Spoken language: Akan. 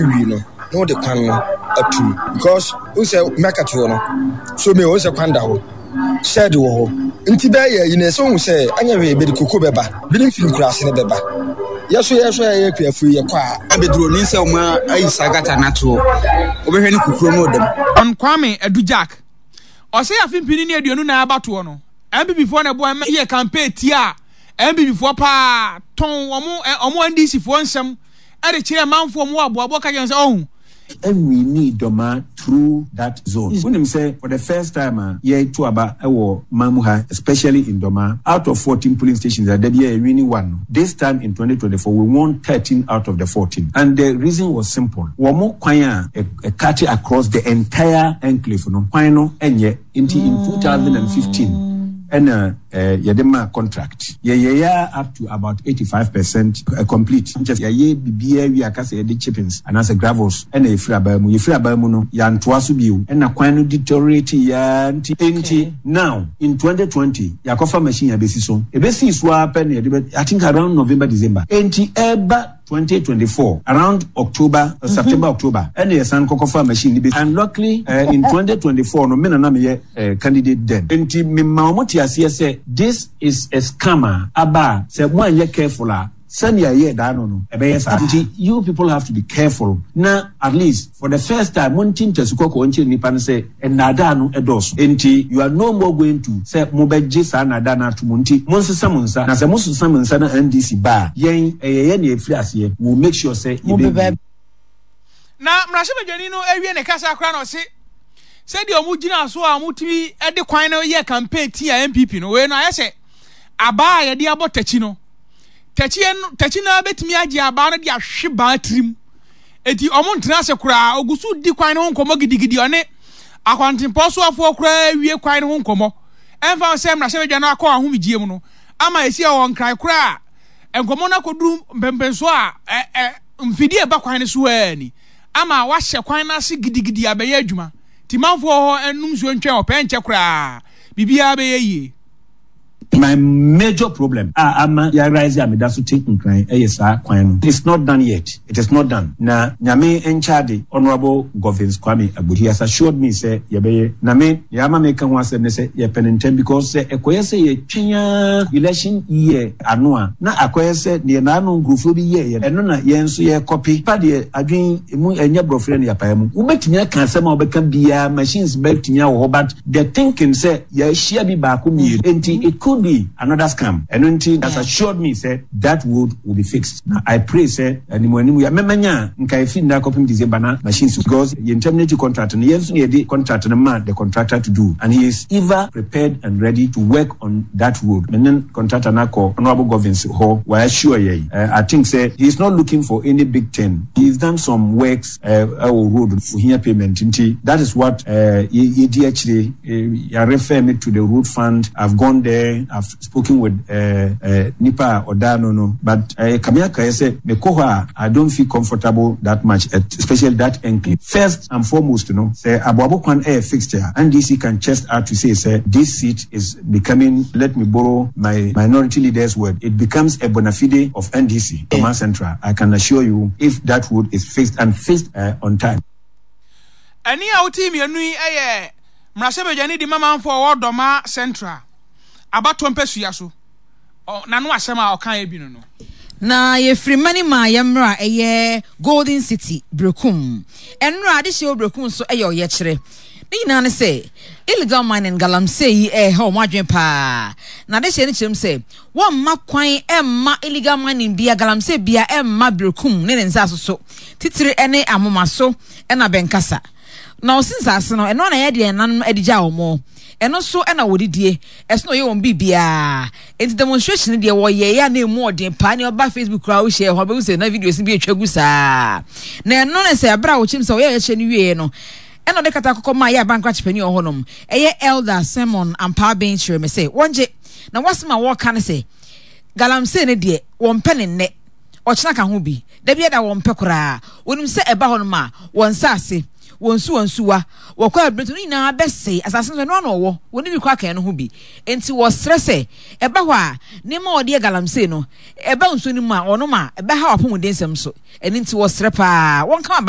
Wie no na wode kwan no atum because wohu sɛ market hɔ no so me wohu sɛ kwan da hɔ shed wɔ hɔ nti bɛyɛ yi na ɛsɛ wohu sɛ anyɛ hwee bɛde koko bɛba binom firi nkuraase no bɛba yɛ so yɛ so yɛyɛ akuafo yi yɛkɔ a Abɛduru ni sɛ wɔn ayi saa gata no ato hɔ. Wobɛhwɛ ne kukuro no ɔdam. Hon Kwame Adu Jack, ɔsɛ afe mpini ne 24 abatoɔ no, NPP foɔ na ɛboa ma yɛ campaign tiaa NPP foɔ paa, tɔn wɔn wɔn NDC foɔ nsɛm de kyerɛɛ manfoɔ wɔn wɔ aboaboa ka kyerɛ wɔn sɛ ɔho. Nwinii Dɔmaa through that zone. Wonim sɛ for the first time a yɛreto aba wɔ man mu ha especially in Dɔmaa, out of 14 polling stations a da biara yɛwini one no, this time in 2024 we won 13 out of the 14 and the reason was simple, wɔn kwan a ɛcute across the entire enclave no, kwan no nyɛ. Nti in 2015 ɛna yɛde maa contract. Yɛyɛeɛ ara up to about 85% complete. Kyerɛ sɛ yɛayɛ biribiara awie aka sɛ yɛde chippings anaasɛ gravels ɛna yɛfiri abaa mu. Yɛfiri abaa mu no yɛantoa so bio ɛna kwan no deteriorate-eɛ ara nti nti now in 2020 yɛakɔfa machine abɛsi so. Ɛbɛsii so ara pɛ na yɛde bɛ I think around November December nti ɛreba 2024 around October mm -hmm. September October ɛna yɛsan kɔkɔfa machine no bi and luckily in 2024 no me na na meyɛ candidate then nti mema wɔn te aseɛ sɛ this is a scam a aba a sɛ mo anyɛ careful a sɛnea ɛyɛ daa no no ɛbɛyɛ saa nti you people have to be careful na at least for the first time mo nti ntasu kɔkɔɔ nkyerɛ nipa no sɛ Nnaadaa no dɔɔso. Enti you are no more going to sɛ mobɛgye saa nnaadaa no ato mu nti monsesa mo nsa na sɛ mosesa mo nsa na NDC ba a yɛn ɛyɛ yɛn na yɛfiri aseɛ we will make sure sɛ yɛbɛwie. Na mmarahyɛbadwani no awie ne kasa koraa na ɔse sɛdeɛ wɔn gyina so a wɔtumi de kwan no yɛ campaign tia NPP no wei no ayɛ sɛ abaa a yɛde abɔ takyi no takyi no takyi no bɛtumi agye abaa no de ahwe baa tirim. Enti ɔmo ntena ase koraa, ogu so di kwan no ho nkɔmmɔ gidigidi, ɔne akwantempɔn soafoɔ koraa wie kwan no ho nkɔmmɔ. Ɛmfa ho sɛ mmarahyɛbadwa no akɔ ahomegyeɛ mu no, ama esi ɔwɔ Nkran koraa a, nkɔmmɔ no akɔduru mpɛnpɛnsoɔ a ɛ ɛ mfidie a ɛba kwan no so ara ni, ama wɔahyɛ kwan no ase gidigidi abɛyɛ adwuma. Nti manfoɔ wɔ hɔ nnom nsuo ntwɛn ɔpɛ, ɛnkyɛ koraa biribiara bɛyɛ yie. My major problem a ama ya rise a meda so te Nkran yɛ saa kwan no. It's not done yet, it is not done. Na Nyame nkyɛ ade, Honourable Govins Kwame Agbo, he has assured me sɛ yɛbɛyɛ. Na me, nea ama meka ho asɛm ne sɛ yɛpɛ no ntɛm because sɛ ɛkɔyɛ sɛ yɛtwɛn ara election year ano a, na akɔyɛ sɛ deɛ naano nkurɔfoɔ bi yɛeɛ no, ɛno na yɛn nso yɛrekɔpe. Nipa deɛ adwene emu ɛnyɛ borɔferɛ na yɛapae mu. Wobɛtumi aka asɛm a wobɛka biara, machines bɛtumi awɔ hɔ but the thinking sɛ yɛahyia bi baako mmienu nti it could be another scam ɛno nti has assured me sɛ that road will be fixed na I pray sɛ animu animu yɛ mɛmɛnya a nka ɛfiri nnɛ akɔpem December na machines because yɛn terminate contract no yɛn nso na yɛde contract no maa the contractor to do and he is ever prepared and ready to work on that road me ne contractor no akɔ Honourable Govins hɔ wa assure yɛn I think sɛ he is not looking for any big thing he is done some works ɛwɔ road no ohia payment nti that is what yɛdi akyire yɛ refer me to the road fund I've gone there I've spoken with nipa a ɔda ano no but kame akaeɛ sɛ mekɔ hɔ a I don't feel comfortable that much especially that enclave first and foremost no sɛ aboabo kwan ɛyɛ fixed a NDC can chest out to say sɛ this seat is becoming let me borrow my minority leader's word it becomes a bona fide of NDC Dormaa Central I can assure you if that road is fixed and fixed on time. Ɛnne a wotee mmienu yi yɛ mmarahyɛbadwani de ma manfoɔ a wɔwɔ Dormaa Central abatoɔ mpasua so. N'ano asɛm a ɔkaeɛ bi no no. Na yɛfiri Mani maa yɛmmra ɛyɛ Golden City, Berekum. Ɛnora adehyeɛ wɔ Berekum nso yɛ ɔyɛkyerɛ. Ne nyinaa ne sɛ illegal mining, galamsey yi ɛreha wɔn adwene paa. Na adehyeɛ no kyerɛ mu sɛ wɔmma kwan mma illegal mining bia, galamsey bia mma Berekum ne ne nsaase so, titire ne Amomaso na Bɛnkasa. Na ɔse nsaase no, ɛno na ɛyɛ deɛ nananom de gyaa wɔn. Ɛno so na wɔdidie, ɛso na wɔyɛ wɔn biribiara. Enti demonstration no deɛ wɔyɛeɛ a na ɛmu ɔden paa. Nea ɔba Facebook koraa wohyia hɔ bɛhu sɛ na videos no bi atwa gu saa. Na ɛno ne sɛ ɛberɛ a wɔkyerɛ mu sɛ wɔyɛ ɔyɛkyerɛ no wieeɛ no, ɛna ɔde kata kɔkɔ maa yɛ abankrakye panin wɔ hɔnom, ɛyɛ Elder Simon Ampaaben kyerɛ me sɛ wɔngye. Na wɔasɛm a wɔreka ne sɛ galamsey no deɛ wɔmpɛ ne nnɛ, ɔkyena ka ho bi. Da biara da wɔmpɛ koraa. Wɔnim sɛ ɛba hɔnom a, wɔn nsase, wɔn nsuwansuwa, wɔkɔ abirɛnto no nyinaa bɛsɛe. Asase no nso, ɛno ara na wɔwɔ. Wɔnni bi koraa ka ɛno ho bi. Enti wɔsrɛ sɛ, ɛba hɔ a, nneɛma a wɔde yɛ galamsey no, ɛba nsuo no mu a, wɔnom a, ɛbɛhaw apɔmudensɛm nso. Ɛno nti wɔsrɛ paa, wɔnka aba.